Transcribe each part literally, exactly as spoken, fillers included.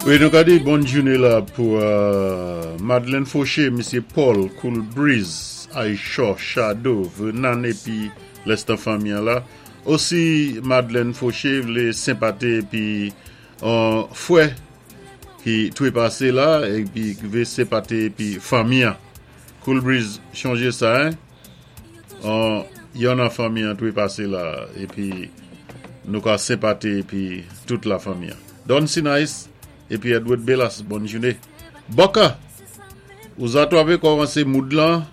Wi, nou ka di bòn jouné la pou euh, Madeleine Fauché, Misyé Paul, Cool Breeze, Aisha, Shadow, Vernon épi lèstan fanmi la. Osi Madeleine Fauché vlé senpaté épi yon fwè ki twépasé la épi vlé senpaté épi fanmi. Cool Breeze chonjé sa hein. An yon nan fanmi an twépasé la épi nou ka senpaté épi tout la fanmi. Don Sinais épi Edward Bellas, bòn jouné. Boka, ou zato avé kòmansé moud lan,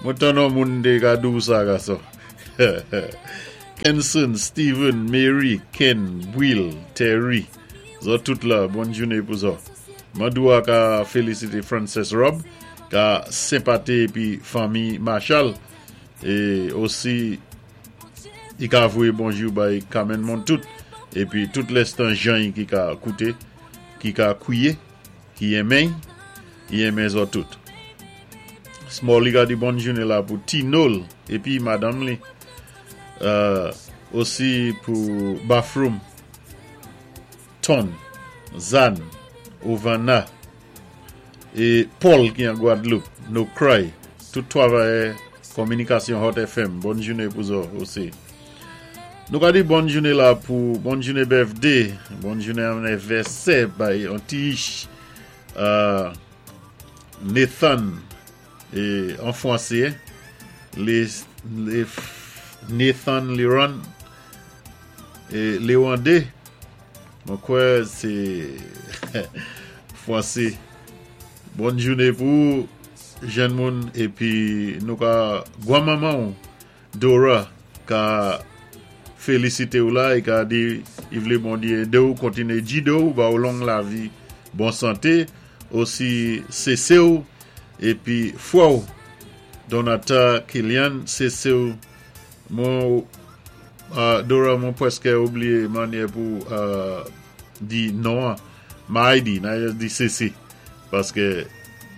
mwen tann yon moun dé ka di sa gason. Kenson, Steven, Mary, Ken, Will, Terry, zòt tout la, bòn jouné pou zòt. Mandoua ka félisité Frances Rob, ka senpaté épi fanmi Marshall, é osi i ka voyé bonjou bay Carmen Montout, épi tout lèstan jan ki ka kouté, ki ka kwié, ki enmen, i enmen zòt tout. Smalley ka di bòn jouné la pou Tinol épi madanm li. Euh, osi pou Bathroom, Ton, Zan, Ovana é Paul ki an Gwadloup, No Cry, tout twavayè Kominikasyon Hot F M. Bòn jouné pou zòt osi. Nou ka di bòn jouné la pou bòn jouné birthday, bòn jouné anivèsè bay an ti euh, Nathan é an fwansé, les, les Nathan Leron é Léwandé, mwen kwè sé fwansé. Bòn jouné pou jenn moun épi nou ka gwanmanman Dora ka félisité ou la é ka di i vlé Bondyé édé ou kontiné gidé ou ba ou long lavi, bon santé, osi sésé ou épi fwè ou Donata Kilian, sésé ou mwen euh, Dora, mwen pwèskè oubliyé mannyè pou euh, di non Maïdi, nan di sésé paské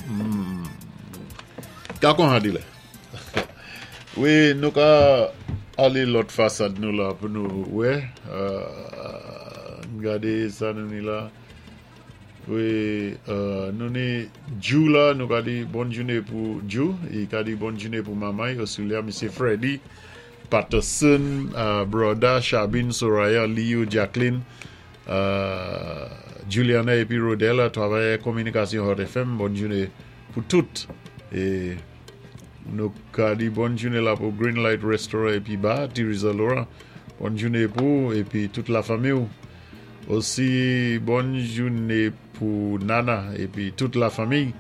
mm, ka kon ha di la. Wi, nou ka alé lòt fasad nou la pou nou wè euh, gadé sa nou ni la. Wi, euh, nou ni Jou la, nou ka di bòn jouné pou Jou, i ka di bòn jouné pou manman, Osulia, Misyé Freddy, Patterson, euh, Broda, Chabine, Soraya, Leo, Jacqueline, euh, Juliana épi Rodella, twavayè Kominikasyon Hot F M, bòn jouné pou tout. É nou ka di bòn jouné la pou Green Light Restaurant épi Bar, Teresa Laurent, bòn jouné pou épi tout la fanmi. Osi bòn jouné pou Nana épi tout la fanmi.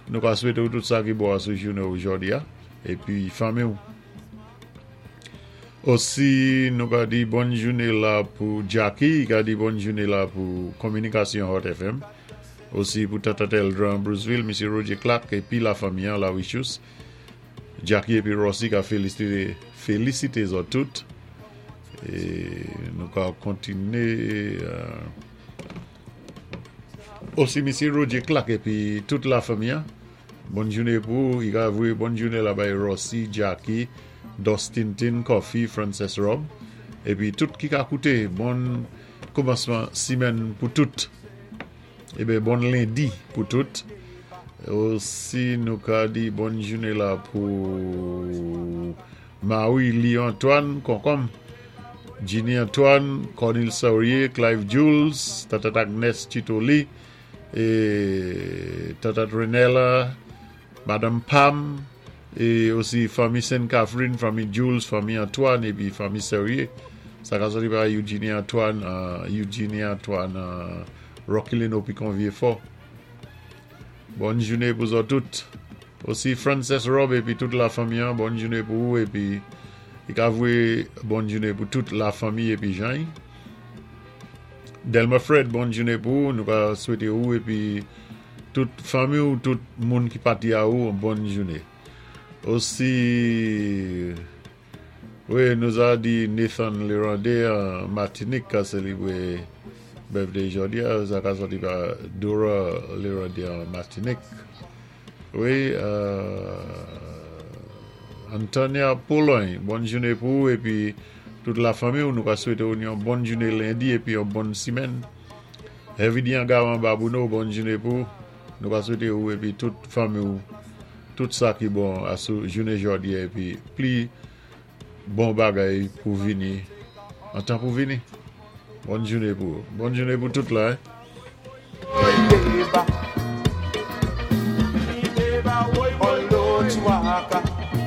Nou ka swété tout sa ki bon sou jouné jòdi a épi fanmi. Osi nou ka di bòn jouné la pou Jackie, ka di bòn jouné la pou Kominikasyon Hot F M. Osi pou Tata Eldran Bruceville, Misyé Roger Clark épi la fanmi la Wichus. Jackie épi Rossi ka félisité félisité zòt tout. É nou ka kontiné euh, osi Misyé Roger Clark épi tout la fanmi. Bòn jouné pou i ka voyé bòn jouné la bay Rossi, Jackie, Dustin Tin, Coffee, Frances Rob épi tout ki ka kouté, bon kòmansman simèn pou tout. Eben bon lendi pou tout. Osi nou ka di bòn jouné la pou Marie Lee Antoine, Konkonm, Ginny Antoine, Cornel Saurier, Clive Jules, Tata Agnes Chitoli, é Tata Renella, Madame Pam, é osi fanmi Sainte Catherine, fanmi Jules, fanmi Antoine, épi fanmi Saurier. Sa ka sòti pa Eugenie Antoine, euh, Eugenie Antoine, euh, Rocky Lino Picon Vieux-Fort. Bòn jouné pou zòt tout. Osi Frances Rob épi tout la fanmi, hein. Bòn jouné pou ou épi i ka voyé bòn jouné pou tout la fanmi épi Jean. Delma Fred, bòn jouné pou ou. Nou ka swété ou épi tout fanmi ou tout moun ki pati a ou bòn jouné. Osi wi, nou a di Nathan Lerandé an Matinik ka sélébwé birthday jòdi a, sa ka sòti pa Dora Lerandé an Matinik. Wi, euh, Antonia Pologne, bòn jouné pou ou épi tout la fanmi, nou ka swété yon bòn jouné lendi épi yon bòn simèn. Heavy Angawan Babouno, bòn jouné pou ou. Nou ka swété ou épi tout fanmi ou, tout sa ki bon asou jouné jòdi épi pli bon bagay pou vini, an tan pou vini. Bòn jouné pou ou. Bòn jouné pou tout la. Hein?